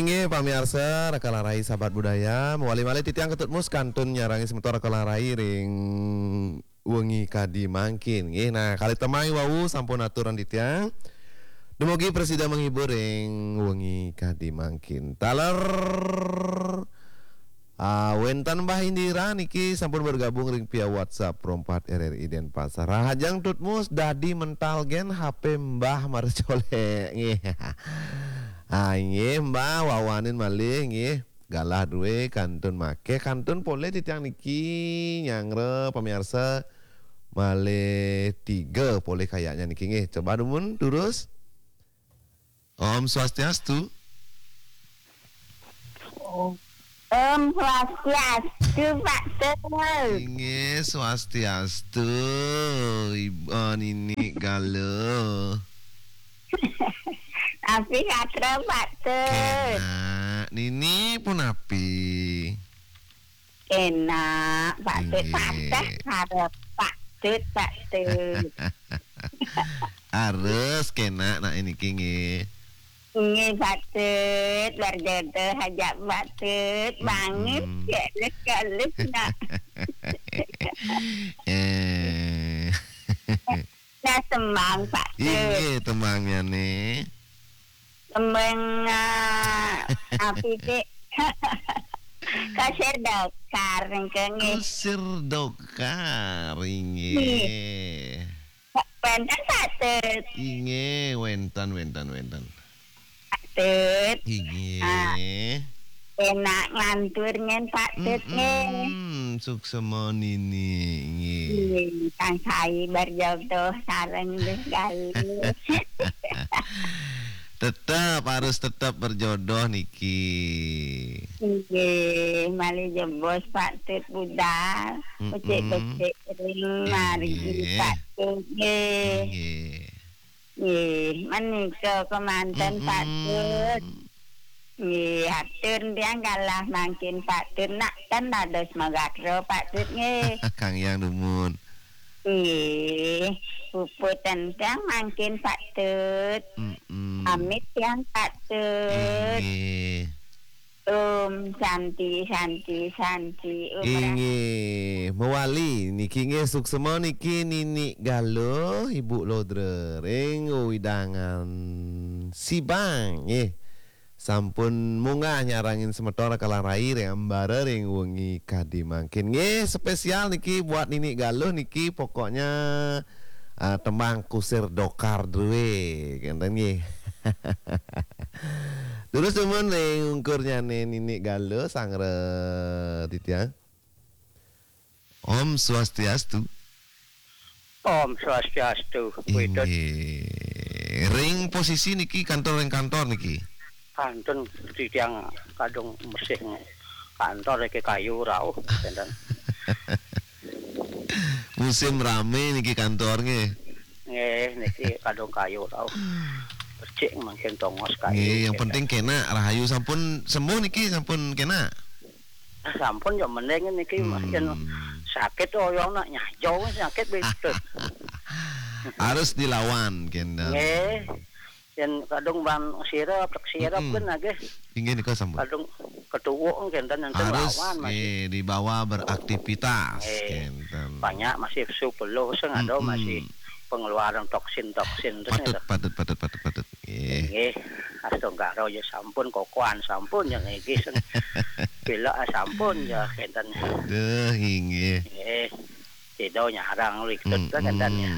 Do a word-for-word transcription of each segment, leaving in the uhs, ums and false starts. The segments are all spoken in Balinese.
Inggih, pamiarsa, Raka Larai Sahabat Budaya, mawali malih titiang Ketut Mus kantun nyarangi semeton Raka Larai ring wengi kadi mangkin. Nggih, nah, kalih tembang wau sampun aturang titiang. Dumugi prasida menghibur ring wengi kadi mangkin. Taler, ah, wénten Mbah Indira niki sampun bergabung ring via WhatsApp Pro empat R R I Denpasar. Rahajeng Tut Mus, dadi mental gén H P Mbah mara colék. Nggih. Ah, inggih, Mbah, wawanin malih, nggih. Galah drué kantun makéh, kantun polih titiang niki nyanggra pamiarsa malih tiga polih kayaknya niki nggih. Coba dumun, durus. Om Swastiastu. Om Swastiastu, Pak Tut. Inggih, Swastiastu, Ibu Nini Galuh. Napi gatra, Pak Tut? Kénak, Nini punapi? Kénak, Pak Tut. Inggih. Pateh harap Pak Tut, Pak Tut. Harus kénak nak niki nggih. Nggih, Pak Tut, berjodoh aja Pak Tut. Bangis, mm-mm, ya, halus-halus, nak. Eh. Nah, tembang, Pak Tut. Inggih, tembangnya nih. Tembang, eh, apa sih? Kusir Dokar, nggih. Kusir Dokar, inggih. Nggih. Wénten, Pak Tut. Inggih, wénten, wénten, wénten. Pak Tut. Inggih. Ah, enak nglantur nggih, Pak Tut, nggih. Mm-mm, suksema Nini, inggih. Inggih, tansah berjodoh sareng Gus Galuh. Tetep, harus tetep berjodoh niki. Inggih, malih jebos Pak Tut budal. Mm-mm. Becik-becik ring margi, inggih, Pak Tut, nggih. Inggih. Nggih, menika kemanten, Pak Tut. Mm-mm. Nggih, atur tiang galah mangkin Pak Tut. Nak ten dados magatra Pak Tut, nggih. Kang Hyang dumun. Nggih, puput ten tiang mangkin Pak Tut. Mm-mm. Pamit tiang Pak Tut. Inggih. Om Santi, Santi, Santi, Om Rah- Inggih, mawali niki nggih suksema niki Nini Galuh, Ibu Lodra ring wewidangan Sibang nggih. Sampun munggah nyarengin semeton Raka Larai ring ambara ring wengi kadi mangkin. Nggih, spesial niki buat Nini Galuh niki pokoknya, ah, tembang Kusir Dokar drué, kénten nggih. Terus dumun ring ungkurnyané Nini Galuh sanggra titiang. Om Swastiastu. Om Swastiastu, Pak Tut. Inggih. Ring posisi niki kantor, ring kantor niki. Kantun titiang kadung mesih kantor niki kayu rauh, kénten. Musim ramé niki kantor nggih. Nggih, niki kadung kayu rauh. Becik mangkin tongos kayu, nggih, yang kénten. Penting kénak rahayu sampun sembuh niki, sampun kénak. Ah, sampun ya mending niki, Mas, yén sakit oyong nak nyajong sakit begitu. Harus dilawan, kénten. Nggih. Yén kadung ban sirep, tek sirep kan nggih. Inggih nika sampun. Kadung ketuwuk kénten, enten harus, lawan, Mas. Nggih, dibawa beraktivitas, nggih, kénten. Banyak masih sepuluh sing ada masih pengeluaran toksin-toksin terus. Patut, patut, patut, patut, patut. Nggih. Nggih, astungkara ya sampun kokoan sampun ya nggih sing pilek sampun ya kénten. Duh, inggih. Nggih. Sida nyarang rikut kénten ya.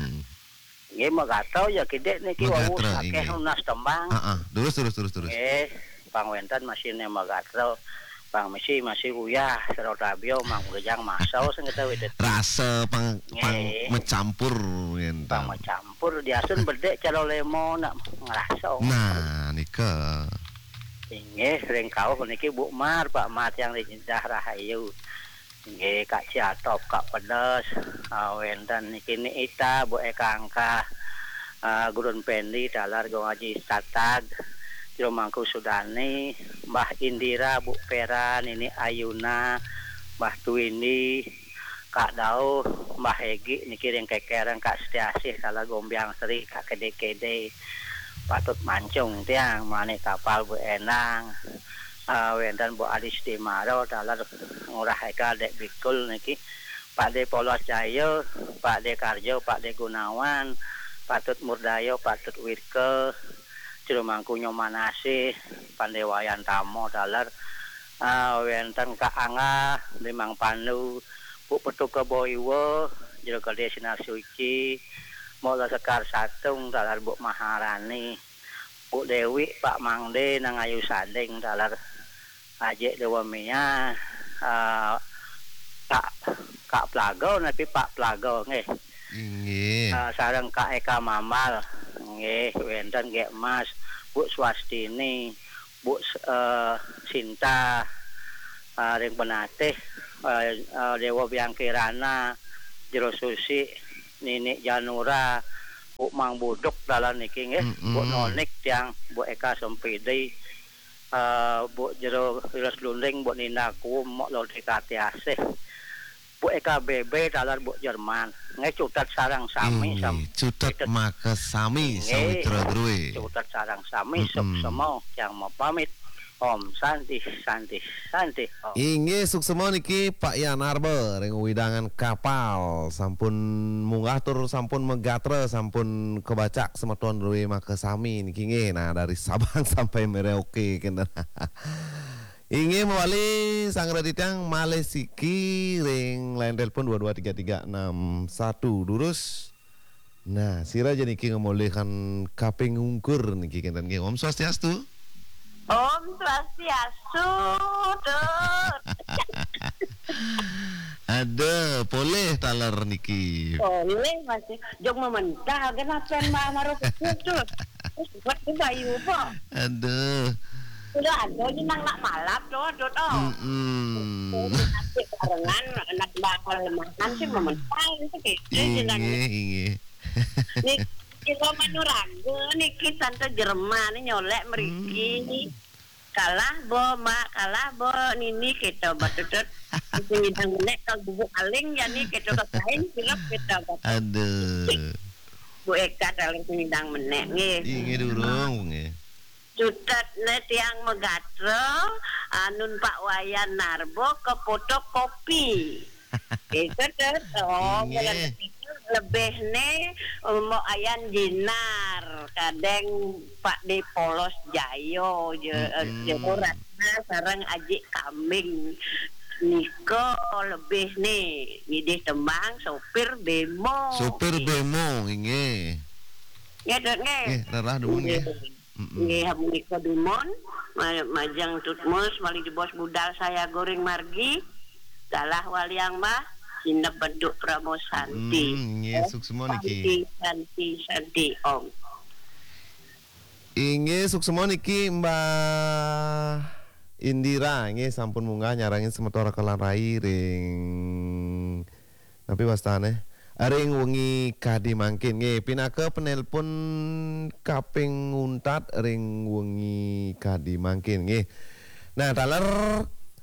Nggih, magatra ya kidik niki wau magatra, akéh inggih. Nunas tembang. Heeh, terus, terus, terus, terus. Nggih, pang wénten masih né magatra. Pang misi masih uyah, sira tabia mang gejang masau sing kita widet. Rasa pang, pang nggih. Mecampur, ngénten. Pang mecampur, diasun bedék calo lemo nak ngerasa. Nah, nika. Inggih, ring kauh niki Bu Mar, Pak Mar tiang ring Indah Rahayu. Inggih, Kak Ciatop, Kak Pedes, ah, wénten niki Ni Ita, Bu Eka Angkah, ah, Gurun Pendi, taler Gung Aji Tatag, Jero Mangku Sudani, Mbah Indira, Bu Pera, Nini Ayuna, Mbah Tuindi, Kak Dauh, Mbah Egi, niki ring Kekereng, Kak Setiasih, taler Gombiang Sri, Kak Kede-Kede, patut mancung tiang, mani kapal Bu Endang, eh, wénten Bu Adi Sudimara, taler Ngurah Eka Dék Bikul niki, Pak Dé Polos Jaya, Pak Dé Karjo, Pak Dé Gunawan, Patut Murdaya, Patut Wirka, Jero Mangku Nyomanasih, Pandé Wayan Tama, taler, eh, wénten Kak Angga, Bli Mang Pandu, Bu Petuka Boiwa, Jero Gedé Sinar Suci, Mula Sekar Satung, taler Bu Maharani, Bu Déwi, Pak Mangdé, Nang Ayu Sading, taler Ajik Déwa Mia, eh, Kak, Kak Plaga, napi Pak Plaga, nggih. Inggih. Eh, sareng Kak Eka Mambal, nggih, wénten Gék Mas, Bu Swastini, Bu S-, eh, Sinta, eh, ring Penatih, eh, eh, Déwa Biang Kirana, Jero Susi, Nini Janura, Bu Mang Buduk, taler niki, nggih, Bu Mm-mm. Nonik, tiang, Bu Eka Sempidi, eh, Bu Jero Wiles Lunding, Bu Nina Kuum, Mok Lodi Katiasih, Bu Eka B B, taler Bu Jerman. Nggih, cutet sareng sami. Inggih, sam-, cutet cutet. Makasami, inggih, sawitra drué. Cutet sareng sami, mm-mm. Suksema, tiang mapamit. Om Santi, Santi, Santi, Om. Inggih, suksema niki Pak Yan Arba ring wewidangan kapal. Sampun munggah tur sampun magatra, sampun kabacak semeton drué makasami niki nggih. Nah, dari Sabang sampai Merauke kenten. Inggih mawali sang raditang malih siki ring line telepon dua dua tiga tiga enam satu. Durus. Nah, sira ja niki ngamolihang kaping ungkur niki kenten nggih. Om Swastiastu. Om Swastiastu, Tut. Ada, polih taler niki. Polih masih. Jog mementah, kenapa Mbak Maro kecil, Tut? Buat Bayu, Pak. Aduh. Udah ada aja nang nak malap, Tut, Tut, oh. Mm-mm. Nanti barengan, anak bakal lemahan sih mementah, itu gitu, inggih, jenangnya. Inggih. Nih, Ira Manuraga niki Tante Jerman nyolek mriki. Hmm. Kalah bo, Mak, kalah bo, Nini, kita batutut. Sing ngidang menek kalau bubuk aling ya nih, kita kain sirup kita batutut. Aduh. Bu Eka kalau sing ngidang menek nggih. Inggih durung nggih. Cutetne tiang magatra, anun Pak Wayan Narbo ke fotokopi. Itu tuh, oh, inggih. Lebih nih, Mbok Ayan Jinar, kadang Pak De Polos Jayo, je, mm-mm. Jero Ratna, sareng Ajik Kambing. Nika lebih nih, ngidih tembang sopir bemo. Sopir bemo, inggih. Nggih, Dut, nggih. Nggih, rerah dumun, nggih. Nggih. Mm-mm. Nggih, menika dumun, ma-, majeng Tutmus, malih jebos budal saya goreng margi, galah waliang mah, sineb beduk Pramo Santi. Mm, nggih, eh, suksma niki. Santi, Santi, Santi, Om. Inggih, suksma niki Mbah Indira, nggih, sampun munggah nyarengin semeton Raka lan Rai ring Napi wastane? Ring wengi kadi mangkin. Nggih, pinaka penelpon kaping untat ring wengi kadi mangkin. Nggih. Nah, taler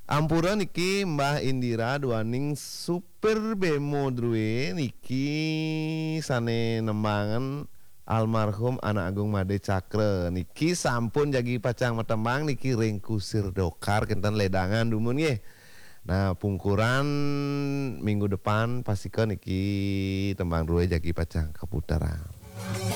ampura niki Mbah Indira duaning supir bemo drué niki sane nembangan almarhum Anak Agung Made Cakra. Niki sampun jagi pacang matembang niki ring Kusir Dokar kenten ledangan dumun nggih. Nah, pungkuran minggu depan pastika niki tembang drué jagi pacang kaputeran.